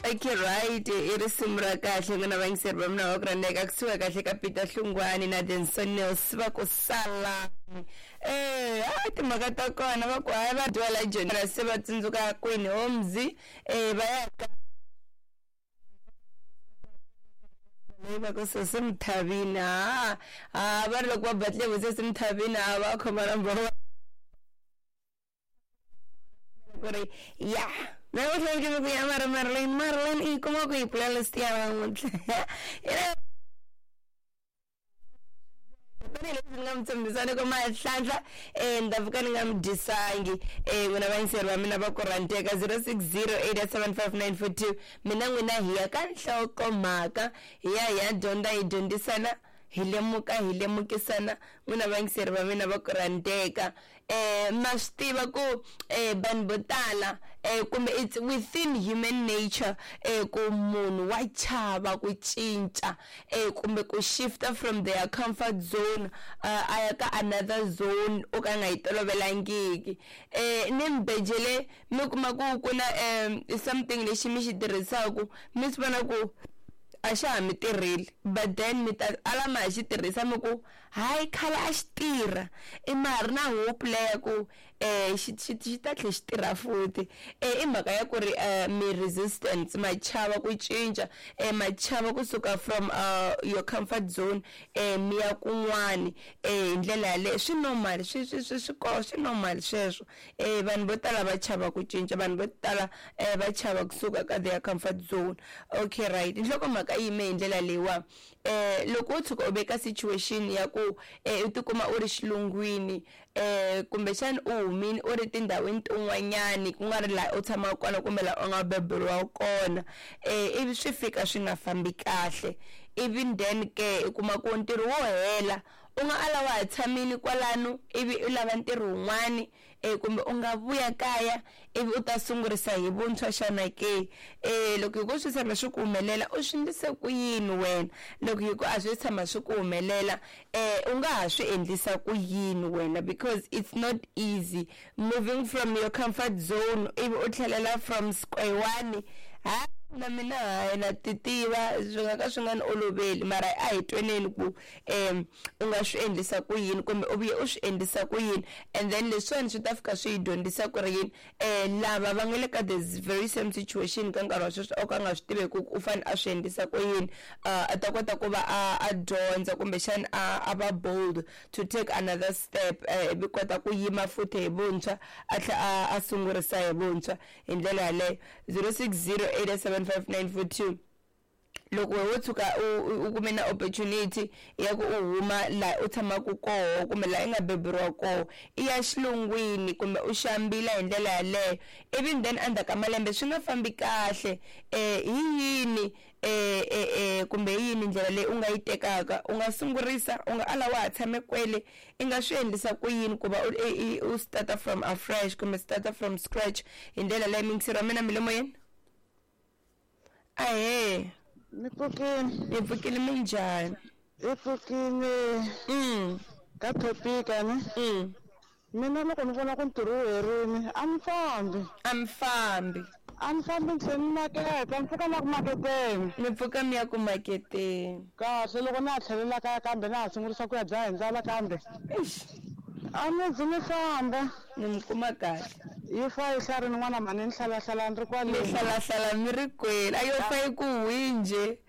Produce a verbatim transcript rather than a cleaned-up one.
Okay, right, i risimu ra kahle n'wina vayingiseri va mina va ku rhandzeka kusuka kahle ka Peter Hlungwani na Denson Nils va ku salani. Eh, a timhaka ta kona va ku hayi va dwala Joni se va tsundzuka Queen Holmes eh va ya ka leyi va ku sesi Mthavini ha ha va ri loko va batle vo sesi Mthavini a va khoma number one ku ri ya na u tlhela ku ya mara Marlene Marlene i kuma ku yi playlist ya namuntlha tanihileswi ni nga mi tshembisani ku mahlanhla um ni ta pfuka ni nga mi dyisangi um n'wina vayingiseri va mina va ku rhandzeka zero six zero eight seven five nine four two mina n'wina hi ya ka nhlokomhaka hi ya hi ya dyondza hi dyondzisana hi lemuka hi lemukisana n'wina vayingiseri va mina va ku rhandzeka um ma swi tiva ku um vanhu vo tala um kumbe it's within human nature um ku munhu wa chava ku cinca um kumbe ku shifta from their comfort zone uh, a ya ka another zone o ka nga yi tolovelangiki um ni mbejele mi kuma ku ku na um something lexi mi xi tirhisaku mi swi vona ku a xa ha mi tirheli but then mi ta ala ma ha xi tirhisa mi ku hayi khale a xi tirha i ma ha ri na hope leya ku um xi xi xi ta tlhe xi tirha futhi um i mhaka ya ku ri um mi resistance ma chava ku cinca um ma chava kusuka from uh, your comfort zone um mi ya kun'wani um hi ndlela yaleyo swi normal swi swi swi swi ko swi normal sweswo um vanhu vo tala va chava ku cinca vanhu vo tala um va chava kusuka ka their comfort zone. Okay, right, nhlokomhaka yi yime hi ndlela leyiwa um loko wo tshuka u veka situation ya ku um u tikuma u ri xilungwini um kumbexani u humini u ri tindhawini tin'wanyani ku nga ri laha u tshamaka kona kumbe laha u nga beburiwa kona um ivi swi fika swi nga fambi kahle ivi then ke u kuma ku ntirho wo hela u nga ala wa ha tshamini kwalano ivi u lava ntirho wun'wani um kumbe u nga vuya kaya ivi u ta sungurisa hi vuntshwa xana ke um loko hi ku swi tshama swi ku humelela u swi endlise ku yini wena loko hi ku a swi tshama swi ku humelela um u nga ha swi endlisa ku yini wena because it's not easy moving from your comfort zone ivi u tlhelela from square one ha na mina hayi na ti tiva swi nga ka swi nga ni oloveli mara a hi tweneni ku um u nga swi endlisa ku yini kumbe u vuye u swi endlisa ku yini and then leswiwani swi ta fika swi hi dyondzisa ku ri yini um lava va nga le ka the very same situation ka nkarhi wa sweswi o ka nga swi tiveki ku u fanele a swi endlisa ku yini uh, a ta kota ku va a a dyondza kumbexani a a va bold to take another step ivi kota ku yima futhi hi vuntshwa a tlhela a a sungurisa hi vuntshwa hi ndlela yaleyo zero six zero eight seven five nine four two loko wo tshuka u u kume na opportunity ya ku u huma laha u tshamaka koho kumbe laha i nga beburiwa koho i ya xilungwini kumbe u xambila hi ndlela yaleyo ivi then endzhaku ka malembe swi nga fambi kahle um hi yini eh eh eh kumbe hi yini ndlela leyi u nga yi tekaka u nga sungurisa u nga ala wa ha tshame kwele i nga swi endlisa ku yini ku va u u starta from afresh kumbe starta from scratch hi ndlela leyi mingiseri wa mina milomo yena ahee Ni pfukile ni pfukile minjhani i pfukile mm ka topic ne mm mina loko ni vona ku ntirho wu herini a ni fambi a mi fambi a ni fambi ni tlhe ni maketa ni pfuka na ku maketeni mi pfuka mi ya ku maketeni kahle loko na ha tlhelela kaya kambe na ha sungurisa ku ya dlaya hi ndlala kambe eish a ni zi ni famba ni mi kuma kahle yi fa yi hlarini n'wana mhani ni hlalahlala ni ri mi kwale hlalahlala mi ri kwele a yo fa yi ku hwi njhe